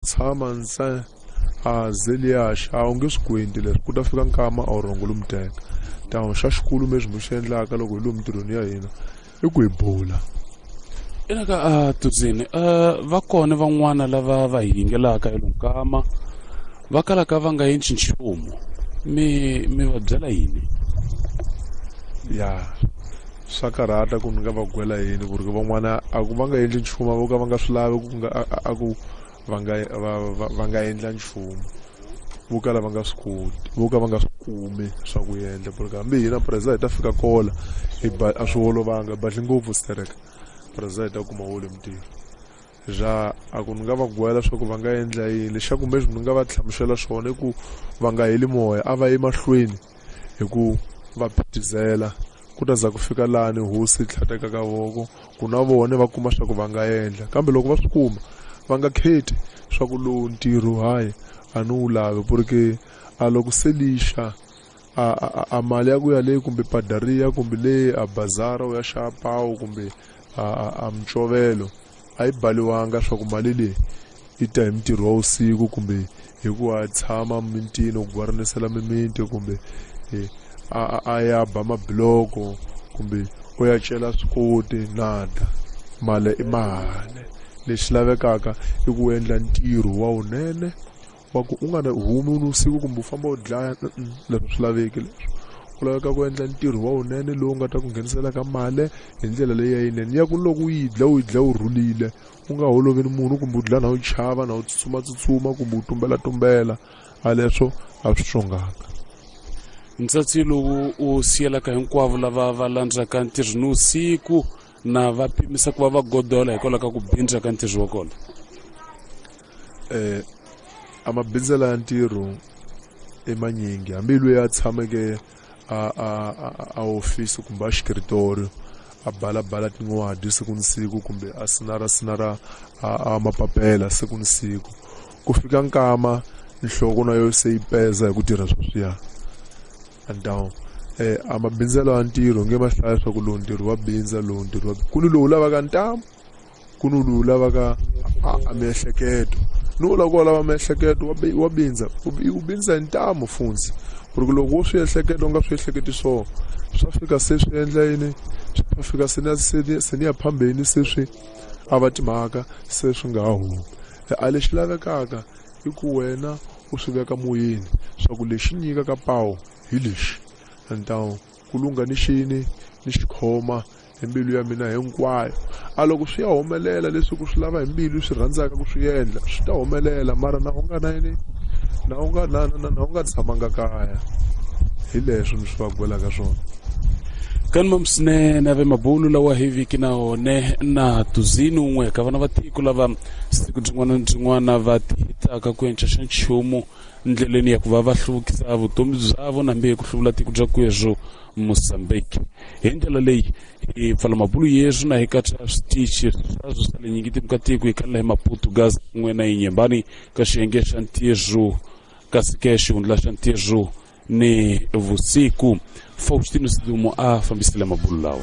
Tshama ntsena a ze liya xa a wu nge swi kwenti leswi ku ta fika nkama a wu rhongo lomu teka tano xa xikulu leswi mi xi endlaka loko hi lomu mintirhweni ya hina i ku hi bula. Ina ka a tudzini va kona van'wana lava va hi yingelaka elunkama va kalaka va nga endli nchumu, mi va byela yini? Ya swa karhata ku ni nga va gwela yini ku ri van'wana a ku va nga endli nchumu, a vo ka va nga swi lavi ku nga a ku va nga va nga endla nchumu, vo kala va nga swi koti, vo ka va nga swi kumi swa ku endla. Porque hambi hina preza hi ta fika kola hi ba a swi olovanga, hi badli ngopfu stereka preza hi ta kuma wole mintirho. Ja a ku ni nga va gwela swa ku va nga endla yini, lexaku kumbe ni nga va hlamusela swona i ku va nga heli moya, a va yi mahlweni hi ku va phitizela ku ta za ku fika lani hosi yi tlhateka ka voko ku na vona va kuma swa ku va nga endla. Kambe loko va swi kuma va nga kheti swa ku lowu ntirho hayi a ni wu lavi, porque a loko se lixa a mali ya ku ya le kumbe padaria kumbe le a bazara u ya xava pawu kumbe a micovelo a yi baliwanga swa ku mali leyi yi ta hi mintirho wa vusiku kumbe hi ku a tshama mintini u gwarinisela mimiti kumbe a ya ba mabiloko kumbe u ya cela swikoti nada. Mali i mali, lexi lavekaka i ku endla ntirho wa wunene wa ku u nga na humi ni vusiku kumbe u famba u dlaya, leswi swi laveki. Leswi ku laveka ku endla ntirho wa wunene lowu nga ta ku nghenisela ka mali hi ndlela leyi ya yinene ya ku loko u yi dla u yi dla u rhulile, u nga holovi ni munhu kumbe u dlaya na u chava na u tsutsuma kumbe u tumbela tumbela, a leswo a swi xonganga. Ntsatsi lowu u siyelaka hinkwavo lava va landzaka ntirho ni vusiku na va pimisa ku va va godola hikwalaho ka ku bindza ka ntirho wa kona. A mabindzela ya ntirho i manyingi, hambi loyi a tshameke a ofisi kumbe a xikritori a balabala tin'wadi siku ni siku kumbe a sinara sinara a mapapela siku ni siku, ku fika nkama nhloko na yo se yi peza hi ku tirha sweswiya. Antawu a mabindzelo ya ntirho nge ma hlaya swa ku lowu ntirho wa bindza, lowu ntirho wa ku ni lowu lavaka ntamu, ku ni lowu lavaka a miehleketo, ni wu lava ku lava miehleketo wa bindza, u bindza hi ntamu funtsi, ku ri loko wo swi ehleketa u nga swi ehleketi swona swa fika se swi endla yini, swa fika se na se ni ya phambeni se swi a va timhaka se swi nga ha humi. A lexi lavekaka i ku wena u swi veka moyeni swa ku lexi nyikaka pawu hi lexi, ntawu ku lungha ni xini ni xikhoma hi mbilu ya mina hinkwayo. A loko swi ya humelela leswi ku swi lava hi mbilu swi rhandzaka ku swi endla swi ta humelela, mara na u nga na yini, na u nga na na na u nga tshamanga kaya, hi leswi ni swi va gwelaka swona. Kani mamsinene ave mabulu lawa hi viki na one na tuzini un'we ka vana va tiko lava siku byin'wana na byin'wana va tihitaka ku enca xa nchumu ndleleni ya ku va va hluvukisa vutomi byavo nambi hi ku hluvula tiko bya kwezwo Mozambique. Hi ndlela leyi hi pfala mabulu yeswi na hi katsa switichi swaswo swa le nyingi ka tiko hi khalela hi Maputo Gaza kun'we na Inyembani ka xiyenge xa ntirho kasi ke xihundla xa ntirho ni vusiku. Faustino Sidumo a fambisile mabulu lawa.